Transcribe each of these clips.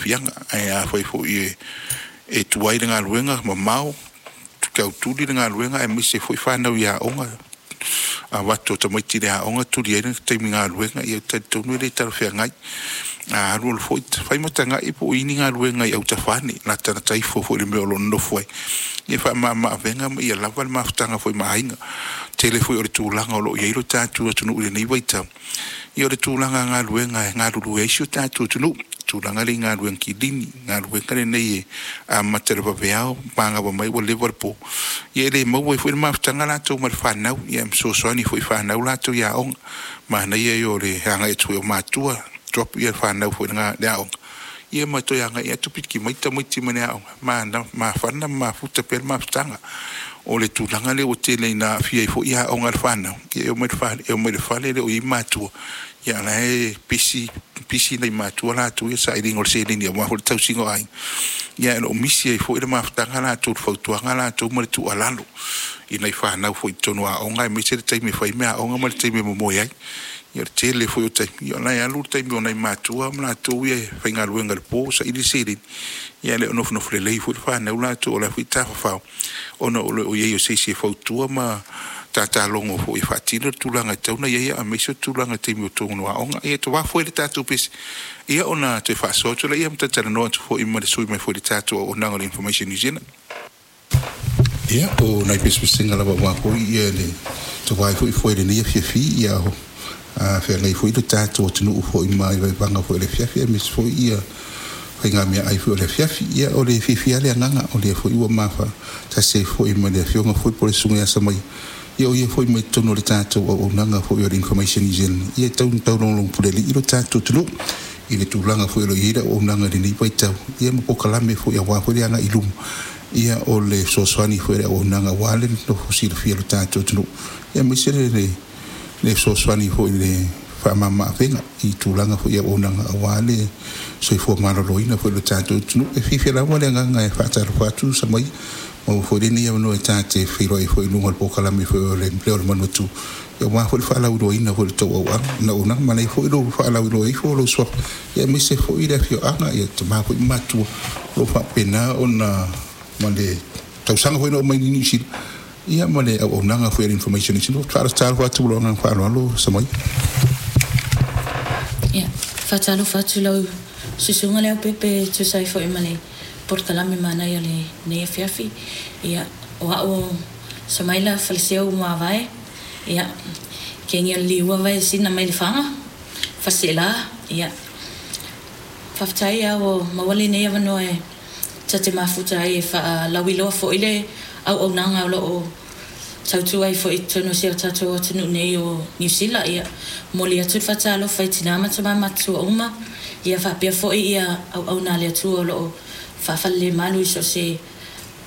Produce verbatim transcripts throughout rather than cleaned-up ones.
aafiaga. Ae afai foi e e tuai le galuega mamao, tautuli le galuega aemaise foi fanau i aoga, avatu o tamaiti i le aoga tuli ai le taimi galuega, ia talitonu e le talafeagai. A alu alu foi fai ma tagai po o i ai ni galuega i autafa ane latalata ifo foi i le mea o lo o nonofo ai, ia faamama-avega ma ia lava le mafutaga foi ma aiga. Tele foi o le tulaga o lo o i ai lo tatou atunuu i lenei vaitau, ia o le tulaga galuega e galulue ai si o tatou atunuu, tulaga lea i galuega kilini, galuega lenei e amata i le vaveao magava mai ua leva le po, ia e le maua ai foi le mafutaga latou ma le fanau, ia ma fesoasoani foi i fanau latou i aoga. Manaia ia o le agai atu foi o matua drop ia fanau foi i le aoga, ia ma toe agai atu piki mai tamaiti mai le aoga, mafana ma mafuta pea le mafutaga. O le tulaga lea ua tele ina aafia ai foi aoga a le fanau, ia e omai i le fale e le o i ai matua, ia a o la e pisi pisi nai matua latou ia i le sailiga o le seleni aua foi le tausiga o aiga, ae o lo o misi ai foi le mafutaga latou, le fautuaga latou ma le tuualalo i nai fanau foi i totonu o aoga aemaise le taimi e fai ai meaaoga ma le taimi e momoe ai. Ia o le tele foi o taimi, ia o la e alu le taimi o nai matua ma latou ia e faigaluega i le po e saili le seleni, ae le o nofonofo lelei foi le fanau latou o la e foi e tafafao ona o le le i ai o se isi e fautua ma tatalogo foi e faatino le tulaga e tatau ona i ai, aemaise o le tulaga i taimi o totonu o aoga. Ia tawafu ai le tatou pese, ia ona toe faasoa atu lea ma talatalanoa atu foi ma le sui usufono mai foi i le tatou auaunaga o le Information New Zealand. Ia, o nai pesepesega lava aua foi ia le tavae foi foe i lenei afiafi, ia feagai foi le tatou atunuu foi ma le vaevaega foi o le afiafi aemaise foi ia faigameaai foi o le afiafi. Ia o le fiafia lava le agaga o lea foi ua mafatasi ai foi ma le afioga foi po o le susuga ia Samaia, ia o ia foi mai totonu o le tatou auaunaga foi o le Information New Zealand, ia e tau taulogologo pulealii lo tatou atunuu i le tulaga foi o lo o i ai le auaunaga i lenei vaitau, ia ma polokalame foi aua foi le agai i luma, ia o le fesoasoani foi a le auaunaga aua le nofo silafia o le tatou atunuu, aemaise le fesoasoani foi i le faamama-avega i tulaga foi i auaunaga aua le soifua maloloina foi o le tatou atunuu. E fiafia lava le agaga e faatalofa atu Samaia, maua foi lenei avanoa e ta te feiloai foi i luga o le polokalame foi o le Leo o le Manuatū, aua foi le faalauiloaina foi o le tou auaunaga. Manaia foi lou faalauiloa ifo o lou suafa, aemaise foi le afioaga, ia tama foi ma matua o lo o faapena ona ma le tausaga foi na oo mai i Niu Sila, ia ma le auaunaga foi a le Information New Zealand. Faatalofa atu ma lou agaga faaaloalo Samaia. Ia, faatalofa atu lau susuga Leaupepe e tusa ai foi ma le polokalame manaia o lenei afiafi. Ia, o au o Samaila Faleseu Muavae, ia, kengi o le liua vai sina mai le faga, faleseela, ia, faafetai lava ua maua lenei avanoa e ta te mafuta ai e faalauiloa foi le auaunaga o lo o tautua ai foi i totonu o si o tatou atunuu nei o Niu Sila. Ia, momoli atu le faatalofa i tina ma tama matutua uma, ia faapea foi ia auauna a le Atua o lo o faafalelemalu i so o se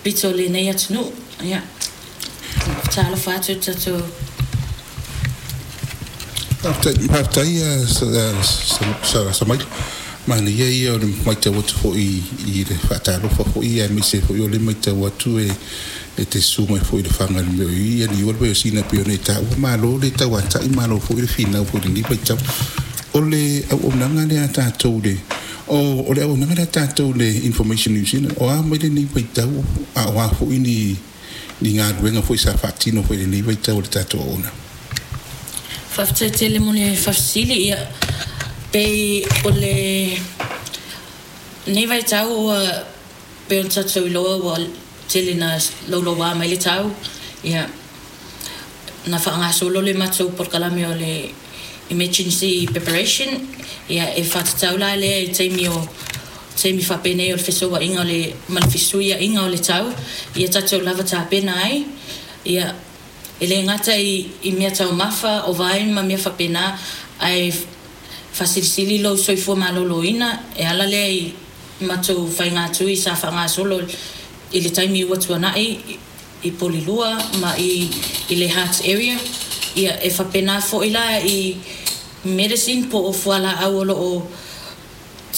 pito o lenei atunuu. Ia, faatalofa atu le tatou. Faafetai Samaila. Manaia ia o le matau atu foi i le faatalofa foi, aemaise foi o le matau atu e e te susu mai foi i le faga i le mea o i ia liua le vaiosina pei ona e taua. Malo le tauatai, malo foi le finau foi i lenei vaitau. O le auaunaga lea a tatou le o o le auaunaga lea a tatou le Information New Zealand, o a mai lenei vaitau, a o a foi ni ni galuega foi sa faatino foi i lenei vaitau o le tatou auaunaga? Faafetai tele mo le faafesili. Ia, pei o le nei vaitau ua pei ona tatou iloa ua tele na louloua mai le tau, ia, na faagasolo le matou polokalame o le emergency preparation, ia, e faatatau la lea i taimi o taimi faapenei o le fesouaiga o le ma le fesuiaiga o le tau, ia tatou lava tapena ai, ia, e le gata i, i mea taumafa o vai ma mea faapena, ae faasilisili lou soifua maloloina e ala lea i matou faigatui sa faagasolo i le taimi ua tuanai i Polilua ma i, i le Heart area. Ia, e faapena foi la i medicine po o fualaau o lo o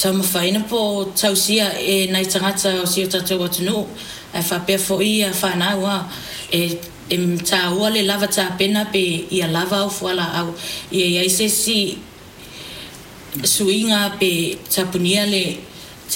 taumafaina po o tausia e nai tagata o si o tatou atunuu, ae faapea foi ia fanau a e e taua le lava tapena pe ia lava au fualaau, ia i ai se isi suiga pe tapunia le